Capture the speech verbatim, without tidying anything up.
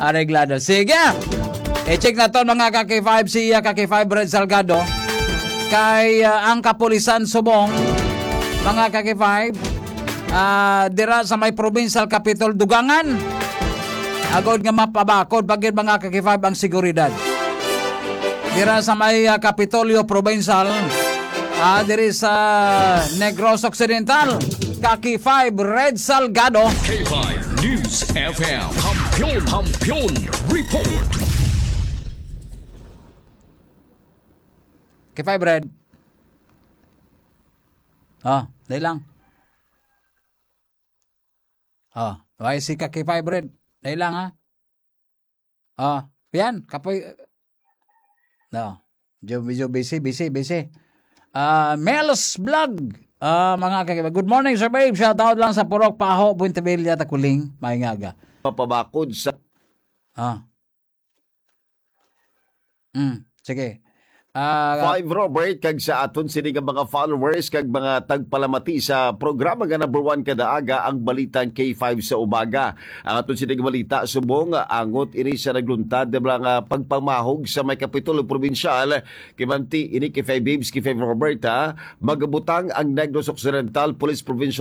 Areglado. Sige. I-check naton, mga ka-K five, si, ah, ka-K five Red Salgado. Kay, ah, ang kapulisan subong, mga ka-K five, ah, dira sa may provincial capital, Dugangan. Agod nga mapabakod pa gid, mga ka-K five, ang seguridad. Dira sa may, ah, Kapitolyo Provincial, ah, diri sa Negros Occidental, ka-K five Red Salgado. K five News F M. Kampiyon, Kampiyon Report. K five Red. Ah, dali lang. Ah, why si ka-K five Red? Dali lang, ha? Ah, yan, kapoy. No. Medyo, medyo busy, busy, busy. Ah, Mel's Vlog. Ah, mga ka-, good morning, Sir Babe. Shout out lang sa Purok Paho, Puente Villa, Takuling. Maayong aga. Papabakod sa Ah. Mm, sige. Ah, Five Robert, kag sa aton sini nga mga followers kag mga tagpalamati sa programa nga number one kada aga, ang Balitang K five sa Umaga. Ang aton sini nga balita subong, angot ini sa nagluntad nga mga pagpamahog sa may Kapitolyo Probinsyal. Kimanti ini kay Five Babes, kay Five Robert, ha? Magabutang ang Negros Occidental Police Provincial